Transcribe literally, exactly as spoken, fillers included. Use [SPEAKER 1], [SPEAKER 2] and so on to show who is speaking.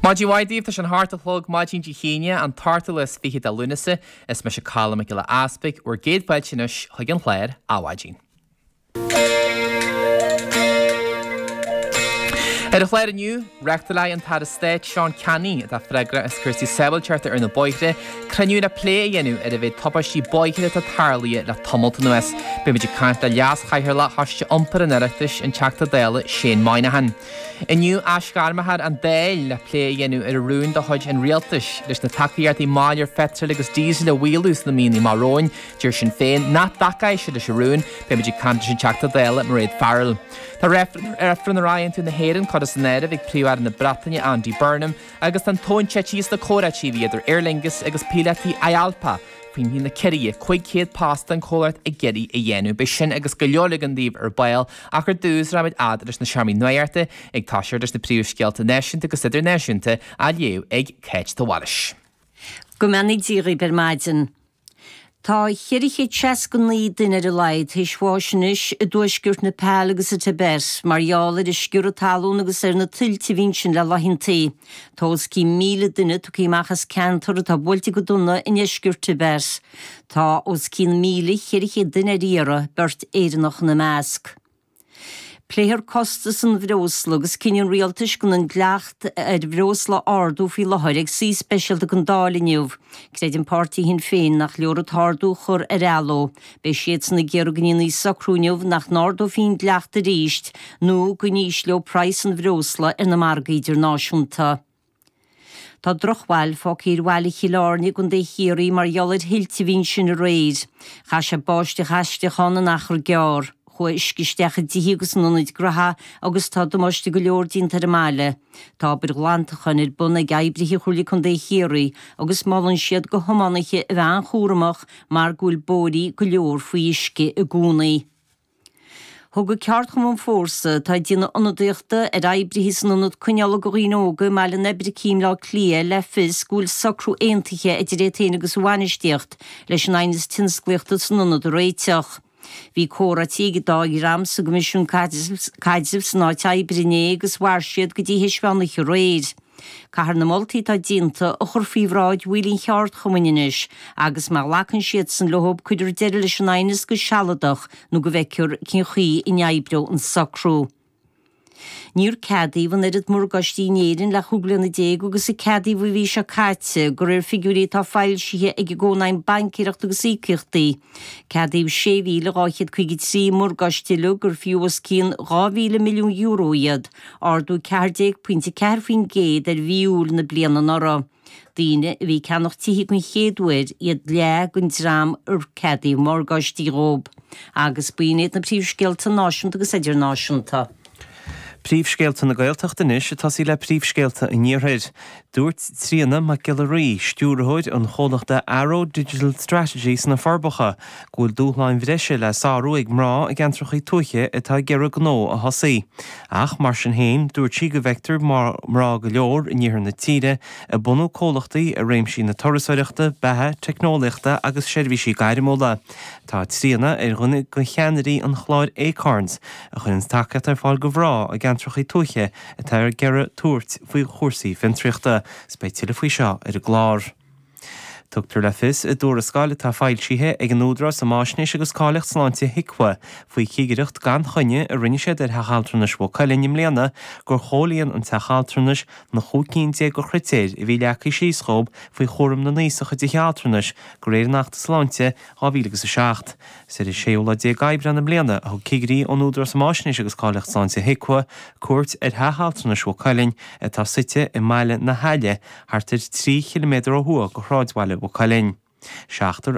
[SPEAKER 1] Maidin mhaith daoibh tá sé an hocht a chlog maidin Dé hAoine an t-ochtú lá is fiche de Lúnasa is mise Colm Mac Giolla Easpaig bhur gcéad fáilte anois chuig an chlár Adhmhaidin. Ar an chlár inniu, reáchtálfaidh an tAire Stáit Seán Canney, atá freagrach as cúrsaí sábháilteachta ar na bóithre, cruinniú le plé a dhéanamh ar an mhéid tubaistí bóithre atá tarlaithe le tamalt anuas. Beimid ag caint le Leas-Chathaoirleach Choiste Iompair an Oireachtais, an Teachta Dála Shane Moynihan. Inniu aisghairmfear an Dáil le plé a dhéanamh ar rún de chuid an Rialtais leis na tacaíochtaí máil ar pheitril agus díosal a mhaolú sna míonna amach romhainn. Deir Sinn Féin nach dtacóidh siad leis an rún. Beimid ag caint leis an Teachta Dála Mairéad Farrell. Tá reifreann ar aontú na hÉireann curtha san áireamh ag Príomh-Aire na Breataine Andy Burnham agus tá an tóin tite sna comhráití a bhí idir Aer Lingus agus píolótaí IALPA faoi na ciorruithe cúig chéad post an comhlacht ag iarraidh a dhéanamh. Beidh sin agus go leor eile againn daoibh ar ball ach ar dtús rachaimid fhad leis na seomraí nuachta ag toiseacht leis na príomhscéalta náisiúnta agus idirnáisiúnta á léamh ag Cáit de Bhailís.
[SPEAKER 2] Go mbeannaí Dia dhaoibh ar maidin. Tá ceithre chéad seasca naoi duine ar a laghad théis bháis anois i dtuaisceart Nepal agus sa Tibet mar gheall ar an sciorradh talún agus ar na tuilte a bhí ansin le laethantaí. Tá os cionn míle duine tugtha amach as ceantar atá buailte go dona i ndeisceart Tibet. Tá os cionn míle ceithre chéad duine ar iarraidh, beirt Éireannach ina measc. Pléifear costas an bhreosla agus cinneadh an rialtais gan an dleacht ar bhreosla a ardú faoi láthair ag suí speisialta den Dáil inniu. Creideann páirtí Shinn Féin nach leor an t-ardú a chur ar athló. Beidh siadsan ag iarraidh go ndéanfaí socrú inniu nach n-ardófaí an dleacht arís nó go n-ísleofaí praghas an bhreosla ar na margaí idirnáisiúnta. Tá drochbhail fágtha ar bhaile Chill Airne i gContae Chiarraí mar gheall ar thuilte a bhí ansin aréir. Chaith sé báisteach aisteach ann in achar gearr. Chuaigh uisce isteach i dtithe agus in ionaid gnaithe agus tá damáiste go leor déanta ar an mbaile. Tá obair ghlantacháin ar bun ag oibrithe Chomhairle Contae Chiarraí agus molann siad do thiománaithe a bheith an-chúramach mar go bhfuil bóithrí go leor faoi uisce i gcónaí. Thug Ceardchumann Fórsa, atá ag déanamh ionadaíochta ar oibrithe san ionad coinneála do dhaoine óga i mBaile an Oibricigh i mBleá Cliath, le fios go bhfuil socrú aontaithe idir iad féin agus a bhainistíocht leis an aighneas tionsclaíochta san ionad a réiteach. Bhí comhráití ag an dá dhream sa gCoimisiún Caidrimh san áit oibre inné agus mhair siad go dtí théis mheán oíche aréir. Caithfear na moltaí atá déanta a chur faoi bhráid bhaill an cheardchumainn anois agus má ghlacann siadsan leo cuirfear deireadh leis an aighneas go sealadach nó go bhfeicfear cén chaoi a n-oibreoidh an socrú. Níor ceadaíodh an oiread morgáistí in Éirinn le chúig bliana déag agus a ceadaíodh an mhí seo caite, de réir figiúirí atá foilsithe ag an gCónaidhm Baincéireachta agus Íocaíochtaí. Ceadaíodh sé mhíle dhá chéad caoga trí morgáiste uilig gur fiú os cionn dhá mhíle milliún euro iad, ardú ceathair déag pointe ceathair faoin gcéad ar mhí Iúil na bliana anuraidh. Daoine a bhí ag ceannach tithe den chéad uair iad leath den dream ar ceadaíodh morgáistí dhóibh. Agus b'in iad na príomhscéalta náisiúnta agus idirnáisiúnta.
[SPEAKER 3] Príomhscéalta na Gaeltachta anois ag tosaí le príomhscéalta an Iarthair. Dúirt Tríona Mac Giolla Rí, stiúrthóir an chomhlachta Arrow Digital Strategy sna Forbacha, go bhfuil dúshláin bhreise le sárú ag mná i gceantracha tuaithe atá ag iarraidh gnó a thosaí. Ach, mar sin féin, dúirt sí go bhfeictear mná go leor in iarthar na tíre ag bunú comhlachtaí i réimsí na turasóireachta, beatha, teicneolaíochta agus seirbhísí gairmiúla. Tá Tríona ar dhuine de cheannairí an chláir Acorns, a chuireanns tacaíocht ar fáil do mhná i gceantracha tuaithe atá ag iarraidh tabhairt faoi chúrsaí fiontraíochta. 'S beidh tuilleadh faoi seo ar an gclár. Tugtar le fios i dtuarascáil atá foilsithe ag an Údarás um Fháisnéis agus Cáilíocht Sláinte, HIQA, faoi chigireacht gan choinne a rinne siad ar Theach Altranais Mhaigh Cuilinn i mbliana gur chomhlíon an teach altranais na chúig cinn déag de chritéir a bhí leagtha síos dhóibh faoi chúram na n-aosach i dtithe altranais de réir an Achta Sláinte dhá mhíle agus a seacht. Is ar an séú lá déag Aibreán i mbliana a thug cigirí ón Údarás um Fháisnéis agus Cáilíocht Sláinte, HIQA, cuairt ar Theach Altranais Mhaigh Cuilinn atá suite i mbaile na hAille, thart ar trí chiliméadar ó thuaidh de shráidbhaile Mhaigh Cuilinn. Seachtar